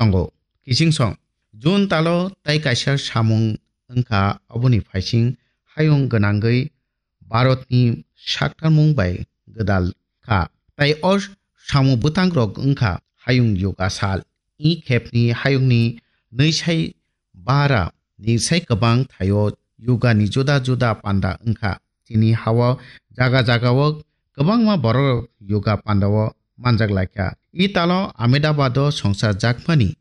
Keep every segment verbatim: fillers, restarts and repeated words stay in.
tongo. Kichingsong, June talo tai kaisa samung wngkha, oboni phaising hayung gwnangwi Bharatni saktarmung bai gwdal kha. Tai o samung bwtangrok wngkha hayung yoga sal. I khepni hayungni nwi sai bara ni sai kwbang thaio yoga ni juda juda panda wngkha. Chini hao jaga jagao kwbangma borok yoga pandao manjak laikha. I talo Ahmedabad o songsa jakmani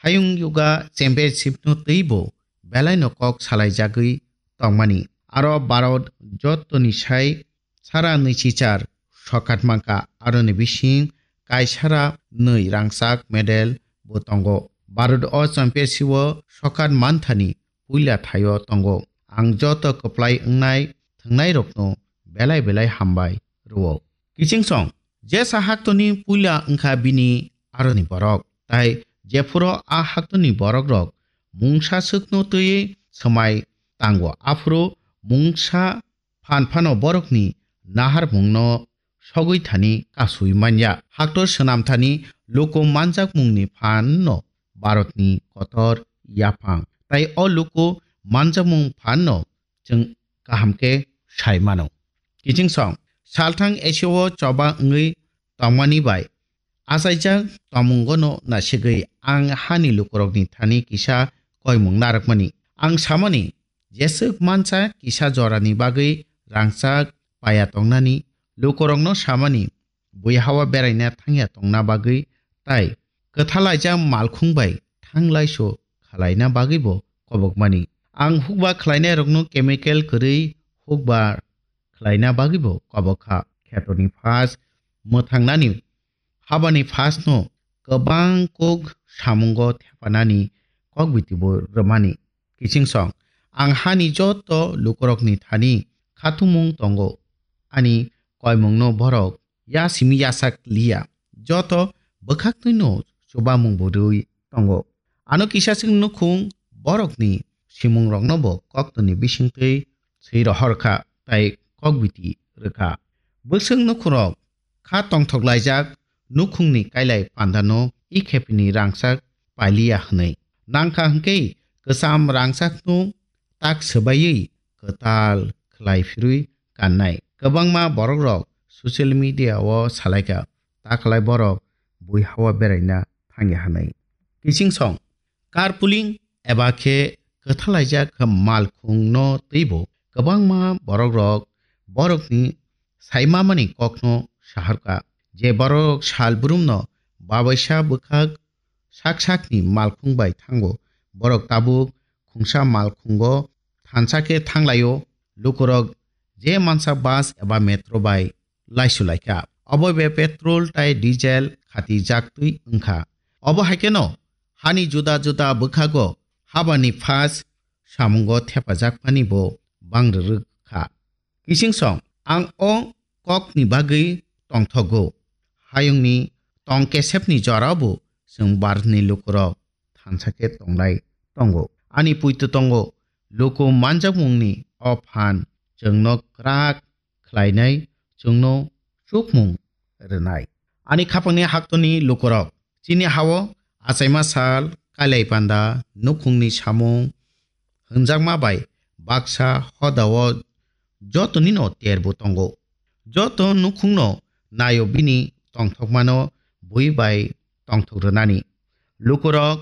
hayung yoga championship no twibo belaino kok salaijagwi tongmani. Aro Bharat jotoni sai sara nwichichar sokat mankha, aroni bising kaisara nwi rangchak medal bo tongo. Bharat o championship o sokat manthani puila thaio tongo. Ang joto kwplai wngnai thwngnairokno belai belai hambai rwo. Kichingsong, jesa haktoni puila wngkha bini aroni borok, tai jephuru a haktoni borokrok mungsa swkno twiwi swmai tango, aphuru mungsa phan phano borokni naharmungno sogwi thani kasui manya. Haktor swnam thani luku manjakmungni phanno Bharatni kotor yaphang. Tai o luku manjakmung phanno chwng kaham khe sai mano. Kichingsong, salthang Asia o choba wngwi tongmani bai achaijak tongmungono nasigwi ang hani lukurokni thani kisa koimung narwkmani. Ang samani, jeswk mansa kisa jorani bagwi rangchak paya tongnani, lukurokno samani, bui hawa beraina thangya tongna bagwi tai kwthalaijak malkhung bai thanglaiso khalaina bagwibo kobokmani. Ang hukba khlainairokno chemical kwrwi hukba khlaina bagwibo kobok kha. Khetorni phas mwthangnani habani phasno kwbang kok samungo thepanani kokbitibo rwmani. Kichingsong, ang hani joto lukurokni thani khathumung tongo, ani koimungno borok ya simi yasak liya, joto bwkhaktwino chubamung bo rwi tongo. Ano kisa chwng nukhung borokni simungrokno bo koktwni bisingtwi swi rohor kha tai kokbiti rwkha. Bwswk nukhungrok kha tongthok laijak nukhungni kailai pandano i khepini rangchak pailiya hwnwi. Nangkha hwnkhe kwcham rangchakno tak swbaiwi kwtal khlai phirwi kannai. Kwbangma borokrok social media o salaikha, ta khlai borok bui hawa beraina thangya hwnwi. Kichingsong, carpooling eba khe kwthalaijak malkhungno twibo kwbangma borokrok borokni saimamani kokno saharkha. Je borok sal brumno babaisa bwkhak sak sakni malkhung bai thango, borok tabuk khungsa malkhungo thansa khe thanglaio. Lukurok je mansa bus eba metro bai laisulaikha. Obo be petrol tai diesel khati jaktwi wngkha. Obo hai kheno hani juda juda bwkhago habani phas samungo thepajak phani bo bang rwrwk kha. Kichingsong, ang o kokni bagwi tongthogo. Hayungni tong kesepni jorao bo chwng Bharatni lukurok thansa khe tonglai tongo. Ani puito tongo, luku manjakmungni o phan chwngno kwrak khlainai, chwngno chukmung rwnai. Ani khapangni haktoni lukurok, chini hao achaima sal, kailai panda, nukhungni samung, hwnjakma bai baksa hodao jotonino terbo tongo. Joto nukhungno naio bini tongthokmano bui bai tongthok rwnani. Lukurok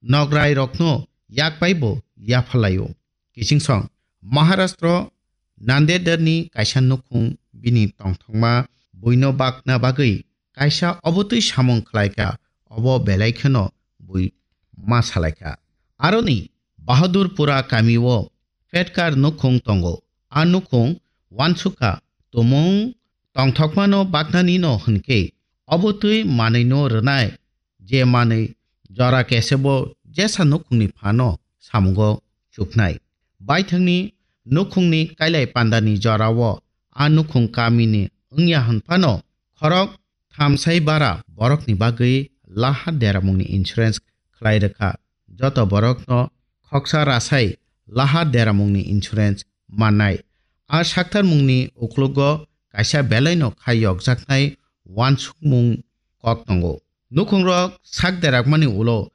nograirokno yak bai bo yaphalaio. Kichingsong, Maharashtra Nandedni kaisa nukhung bini tongthokma buino bakna bagwi kaisa obotwi samung khlaikha, obo belai kheno bui ma salaikha. Aroni Bahadurpura kamio Petkar nukhung tongo. A nukhung wansukha tumung tongthokmano baknanino hwnkhe obotwi manwino rwnai je manwi jora kesebo jesa nukhungni phano samungo chuknai. Baithangni nukhungni kailai pandani jorao a nukhung kamini wngya hwn phano khorok thamsai bara borokni bagwi laha deramungni insurance khlai rwkha. Joto borokno khoksa rasai laha deramungni insurance mannai. A saktarmungni uklogo kaisa belaino khai yokjaknai wansukmung kok tongo. Nukhungrok sak derakmani ulo